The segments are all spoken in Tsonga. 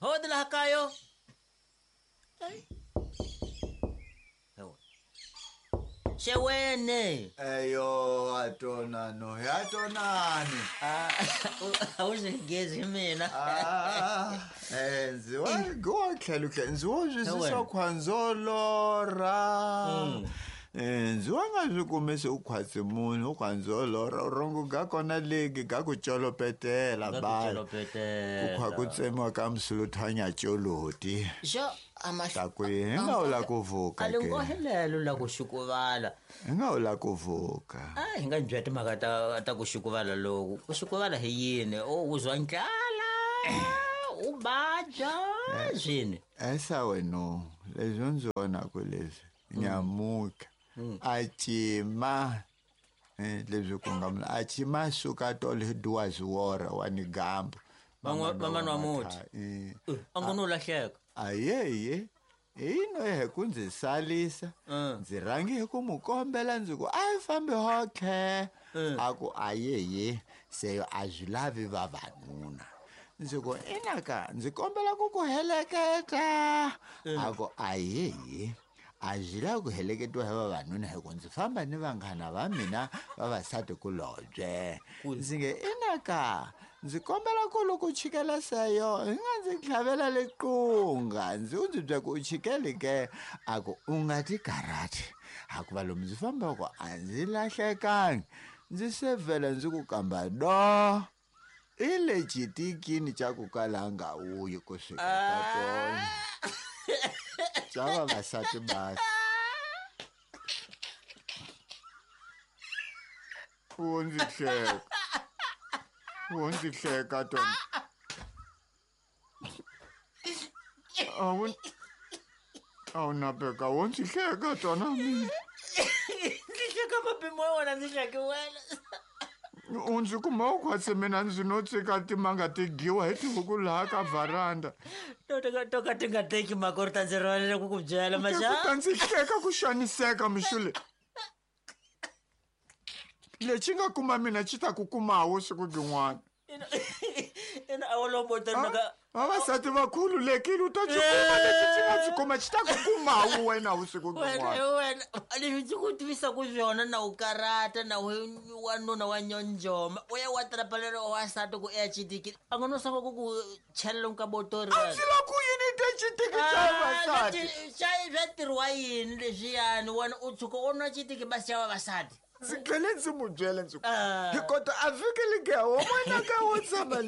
Hodi laha kayo. Xewene. Eyo atonano, yatonani. Ah, a wu swi gezi mina. Ah, ndzi wa go tlhelo tlhelo ndzi wo swi Wena. swa khwanzolora. Ndzi wa nga swi kumi se u khwatsi munhu u khwanzolora rongo ga kona legi ga ku colopetela Ga ku ba. colopetela. Ku khwa ku tsemiwa ka msuluthanya coloti. Xo a Ta ku hi nga u la ku vuka A ke. linghohelelo la ku xukuvala. Hi nga u la ku vuka. A hi nga byela timhaka ta ku xukuvala loku. Ku xukuvala hi yini? O u zwa ndlala, u badya swini. Esa wena leswi ndzi vonaku leswi nyamuka a cima leswi ku nga mula a cima suka tolo hi duwaziwora wa ni gambo Van'wana wa muti. A ngo no lahleka. Ayeye ino hi ku ndzi salisa ndzi rhangi hi ku mu kombela ndzi ku a hi fambi hotlhe a ku ayeye seyo a swi lavi vavanuna ndzi ku inaka ndzi kombela ku ku heleketa a ku ayeye a swi lavi ku heleketiwa hi vavanuna hi ku ndzi famba ni vanghana va mina vavasati kulobye ndzi nge inaka ndzi kombela ku loko u chikela seyo hi nga ndzi tlhavela liqunga ndzi u ndzi bya ku u chikeli ke a ku u nga ti karhati hakuva lomu ndzi fambaka a ndzi lahlekangi ndzi se vhela ndzi ku kamba do i le xitikini xa ku kala nga wuyi ku fika ka tona xa vavasati basi wo ndzi hleka wo ndzi hleka tona a wu napeka wo ndzi hleka tona mina Ndzi hleka mapimo ya wena ndzi hleke wena. U ndzi kuma u khwatsi mina ndzi no tsika timanga ti dyiwa hi tihuku laha ka vharanda To ka ti nga teki mhaka u ri ta ndzi rivalela ku ku byela ku maxa. ta ndzi hleka ku xaniseka mixule lexi nga kuma mina xi ta ku kumawo siku byin'wana Ina a wu lombo ta mhaka. Vavasati va khululekile u ta xi kuma lexi xi nga xi kuma xi ta ku kumawo wena vusiku Wena byin'wana hi wena leswi ndzi ku tivisaka swona na u karata na u wanuna wa nyonjoma u ya wa trapalelo wa wasati ku ya xitikini a nga no sanga ku ku chela lomu ka botori A ndzi la ku yini te xitiki xa vavasati swa tirhiwa yini leswiyani wena u tshuka u nwa xitiki basi xa vavasati Ndzi tlhele ndzi mu byela ndzi ku Ah. hi kota a vhiki ligeha wo n'wanaka wo tshama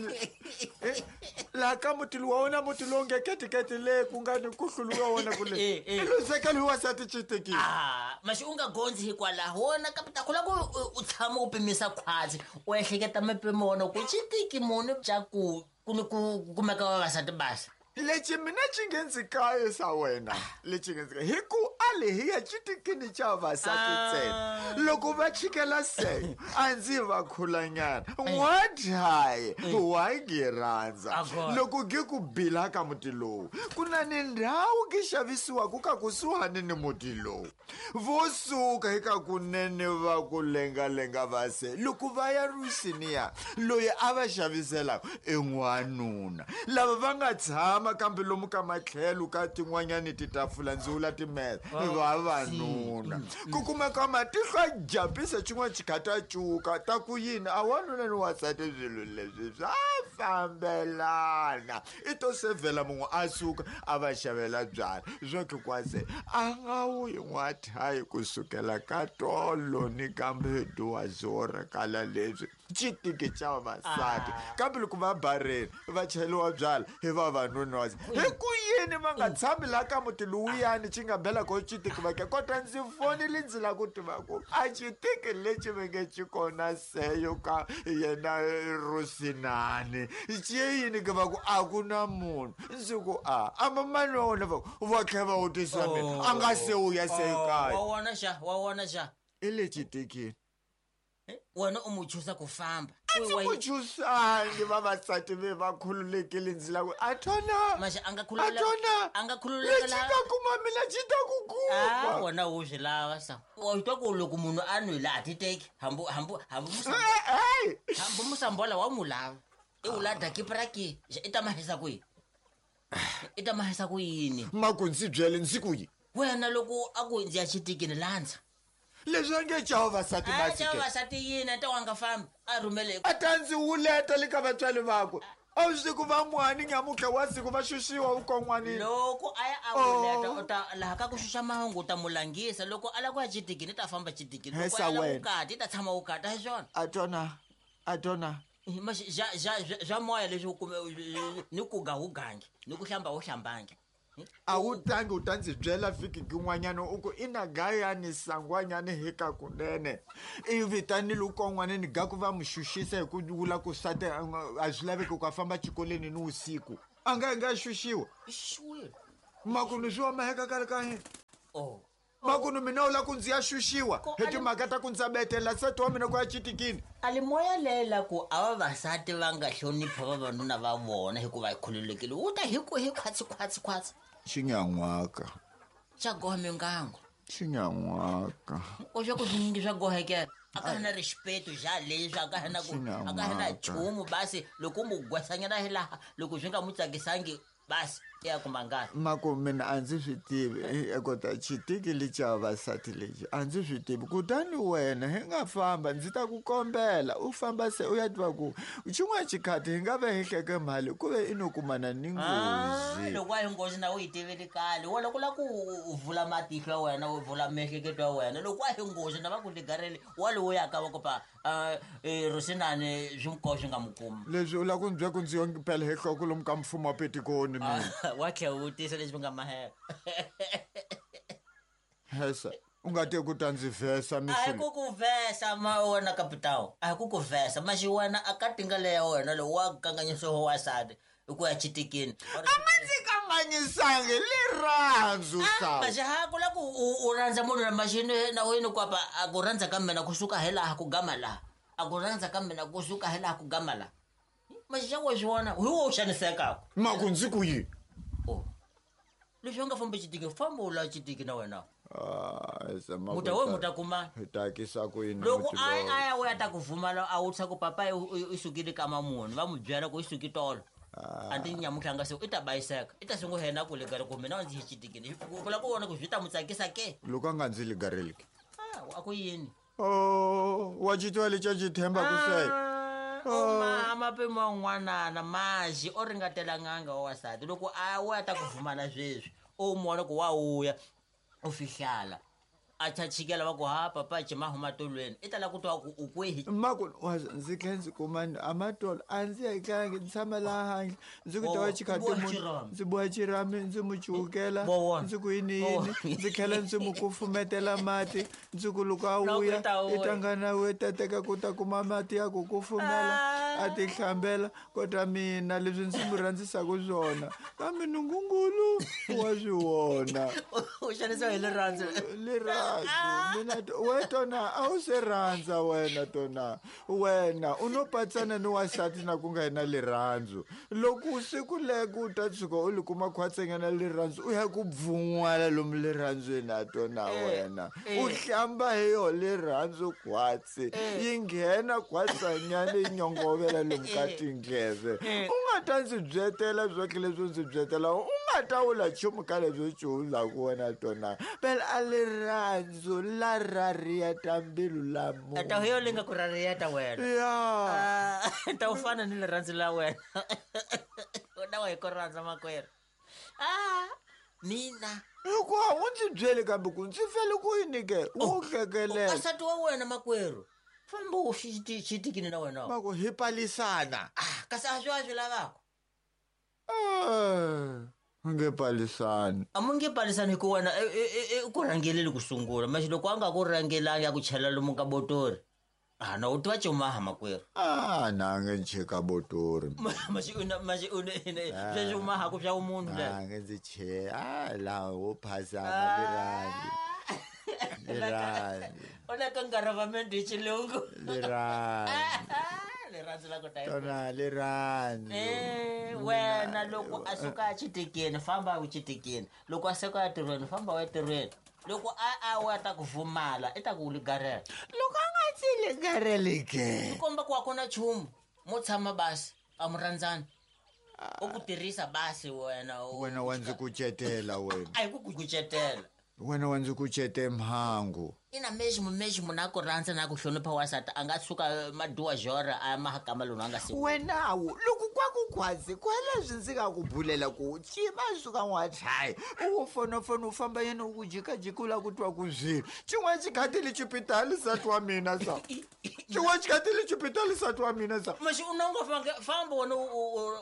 laha ka muti lowu wa wona muti lowu nge ketiketi le ku nga ni ku hluluwa wona kule i luzekelo hi wasati xitikini Ah, maxi u nga gondzi hikwalaho wona kapita ku la ku u tshama u pimisa khwatsi u ehleketa mipimo wona ku xitiki muni xa ku ku ni ku kumeka vavasati basa Lexi mina xi nge ndzi kaye sa wena lexi nge ndzi kaye hi ku a le hi ya xitikini xa vavasati ntsena loko va chikela seyo a ndzi va khulanyana n'wadyaye wa ngi rhandza Agora. loko gi ku bila ka muti lowu ku na ni ndhawu gi xavisiwaku ka kusuhani ni muti lowu vo suka eka kunene va ku lengalenga va se loko va ya rusiniya loyi a va xaviselaka i n'wanuna lava va nga tshama kambe lomu ka matlhelo ka tin'wanyani titafula ndzi vula timesa vavanuna ku kumeka matihlo a jampisa xin'wana xikhati a cuka ta ku yini a wanuna ni wansati swilo leswi swa fambelana i to sevhela mun'we a suka a va xavela byala swo kikwase a nga wuyi n'wathayi kusukela ka tolo ni kambe duwazora kala leswi xitiki xa vavasati kambe loko va bareni va cheliwa byala hi vavanuna wa hi ku yini va nga tshami laha ka muti lowuyani xi nga bela ko xitiki va ke kota ndzi fonile ndzi lava ku tiva ku a xitiki lexi va nge xi kona seyo ka yena rusinani xi yini ke va ku a ku na munhu ndzi ku a amba mani wa wona va ku va tlhela va wutisa mina a nga se u ya se kaya wa wona xa wa wona xa i le xitikini Wena u mu chusa ku famba A ndzi ku chusangi vavasati ve va khululekile ndzi lava a thona Maxi a nga a khululeka thona a nga khululeka lexi nga kuma mina xi ta ku Ah, kuma wona wu swi lava sa wa twa ku loko munhu a nwile a ti teki hambi hambi hambi Eh, hambi musambola wa mu lava i wu la dakipra ke i ta mahisa kwihi I ta mahisa ku yini? Maku ndzi byele ndzi ku yi. Wena loko a ku ndzi ya xitikini landza. Leswi a nge chava vasati A basike. chava vasati yini a ta wa nga fambi a rhumele. A ta ndzi wuleta le ka vatswari vakwe. A wu siku va mwani nyamutlha wa siku va xuxiwa vukon'wanini. Loko a ya a wuleta u ta laha ka ku xuxa mahungu u ta mu langisa loko a lava ku ya xitikini i ta famba xitikini loko Hesa a lava wena. ku kata i ta tshama wu kata hi swona. A tona a tona. Xa moya leswi u kume ni ku ga wu gangi ni ku hlamba wu hlambangi. A wu tangi u ta ndzi byela vhiki kin'wanyana u ku i na gayani sangwanyani hi ka kunene i vitanile ukon'waneni ga ku va mu xuxisa hi ku vula ku sati a swi laveki ku a famba xikolweni ni vusiku a nga nga xuxiwa Xuxiwile. makunu swi wa maheka kale ka hina Oh. makunu mina u la ku ndzi ya xuxiwa Ko hi a ni- timhaka ta ku ndza betela nsati wa mina ku ya citikini A li moya lela ku a vavasati va nga hlonipha vavanuna va vona hikuva hi khululekile wu ta hi ku hi khwatsi khwatsi khwatsi xinyan'waka xa goha mingango xinyan'waka o swa ku swinyingi swa gohekela a ka ha na rixipeto xa leswi a ka ha na ku a ka ha na nchumu basi loko mu gwesanyana hi laha loko swi nga mu tsakisangi basi i ya kuma ngati mako mina a ndzi swi tivi kota xitiki lexi xa vavasati lexi a ndzi swi tivi kutani wena hi nga famba ndzi ta ku kombela u famba se u ya tiva ku xin'wana xikhati hi nga ve hi hleke mali ku ve i no kumana ni nghozi loko a hi nghozi na u yi tiveli kale wena ku lava ku u vula matihlo ya wena u vula miehleketo ya wena loko a hi nghozi na va ku ligareli wa lowu yaka va ku pa rosinani swi nkoho swi nga mu kumi leswi u lava ku ndzi byela ku ndzi yo phela hi nhloko lomu ka mfumo wa petikoni mina wa tlhela u vutisa leswi nga mahela hesa u nga te ku ta ndzi vhesa a hi misulu ku ku vhesa ma wena kapitawu a hi ku ku vhesa maxi wena a ka tinga leya wena lowu wa kanganyisiwa wasati i ku ya xitikini a nga ndzi kanganyisangi lirhandzu sawu maxi ha ku la ku u rhandza munhu na maxini na wena kwapa a ku rhandza ka mina kusuka hi laha ku gama laha a ku rhandza ka mina kusuka hi laha ku gama laha maxi xa wa swi vona hi wo u xanisekaka maku ndzi ku yini o leswi u nga fambi xitiki famba u la xitiki na wena Ah, hesa, maku muta we muta kumana hi takisa ku yini loko muti a lowu? a ya u ya ta ku vhumala a wutisa ku papa i sukile ka mamunhu va mu byela ku i suki tolo a ti nyamutlha nga se i ta bayiseka i ta sungula yena ku legala ku mina ndzi hi xitikini ku lava ku vona ku swi ta mu tsakisa ke loko a nga ndzi ligareliki Ah, a ku yini o wa xitwa lexi a xi themba ku se o mama pimo n'wanana maxi o ringatela n'anga wa wasati loko a wu ya ta ku vhumala sweswi u mona ku wa wuya u fihlala a chachikela va ku ha papa cima huma tolweni i ta lava ku twa ku u kwihi maku ndzi tlhe ndzi kuma amatolo a ndzi yetlangi ndzi tshama laha handle ndzi ku Wo- tava wo- xikhati boha munhu xirhami. ndzi boha xirhami ndzi mu cuwukela Wo wona. ndzi ku yini Wo yini wona. ndzi tlhela ndzi mu kufumetela mati ndzi ku loko a Loko vuya i ta i vuya. ta nga na we ta teka ku ta kuma mati ya ku kufumela Ah. a ti hlambela kota mina leswi ndzi mu rhandzisaka swona kambe nungungulu wa swi vona u xanisiwa hi rirhandzu lirhandzu mina we tona a wu se rhandza wena tona wena u no patsana ni wasati na ku nga yi na lirhandzu loko siku leko u ta tshuka u li kuma khwatsengana lirhandzu u ya ku bvun'wala lomu lirhandzweni a tona wena u hlamba hi yo lirhandzu khwatsi yi nghena khwatsanyana yi nyongovela lomu ka tindleve u nga ta ndzi byetela swotlhe leswi ndzi byetela u nga ta wula nchumu ka leswi cuwulaku wena tona phela a lirhandzu la rariyeta mbilu la munhu ta yo linga ku rariyeta wena ya Ah, ta u fana ni rirhandzu la wena u na wa hi ku rhandza makwerhu ah mina hikuva u ndzi byeli kambe ku ndzi fele ku yini ke wo hlekelela asati wa wena makwerhu famba u xitikini na wena maku hi palisana ah kasi a swi a swi lavaka Eh, u nge palisani a mu nge palisani hi ku wena i ku rhangeleli ku sungula maxi loko a nga ku rhangelangi a ku chela lomu ka botori a na u tiva cumaha makwerhu a na nge ncheka botori maxi maxi sweswi u mahaku swa vumunhu le a nge ndzi che a laha wo phasana lirhandzu lirhandzu u le ka ngaravamende hi xilungu lirhandzu rirhandzu la ku ta tona lirhandzu Eh, wena loko a suka a xitikini famba u xitikini loko a suka entirhweni famba u entirhweni loko a a wa ta ku vumala i ta ku ligarela loko a nga ndzi ligareli ke swi komba ku a ku na nchumu mo tshama basi a mu rhandzani U ku tirhisa basi wena Wena wa ndzi kucetela wena. A hi ku kucetela. Wena wa ndzi kucete mhangu. Ina mexi mexi munhu a ku rhandza na ku hlonipha wasati a nga suka maduwa jora a ya mahakama lomu a nga si. Wenawu loko kwa ku khwazi kweleswi ndzi nga ku bulela ku cima suka n'wachayi u wo fonofona u famba yena u ku jikajika u lava ku twa ku swilo xin'wana xikhati li xipitali nsati wa mina sa xin'wana xikhati li xipitali nsati wa mina sa. Maxi u na u nga famba wena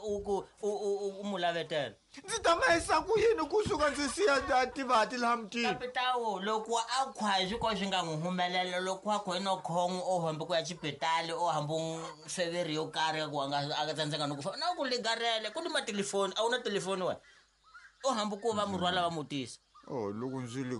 u ku u mu lavetela. Ndzi ta ma yisa ku yini kusuka ndzi siya tivati laha mutini? Kapitawu loko a khwayi swi ko swi nga n'wi humelela loko a khwayi no khon'we o hambi ku ya xipitali o hambi feveri yo karhi ku a nga a tsandzeka no ku fa na ku ligarele ku ni matelefoni a wu na telefoni wena o hambi ku va murhwala va mutisa. Oh loko ndzi li.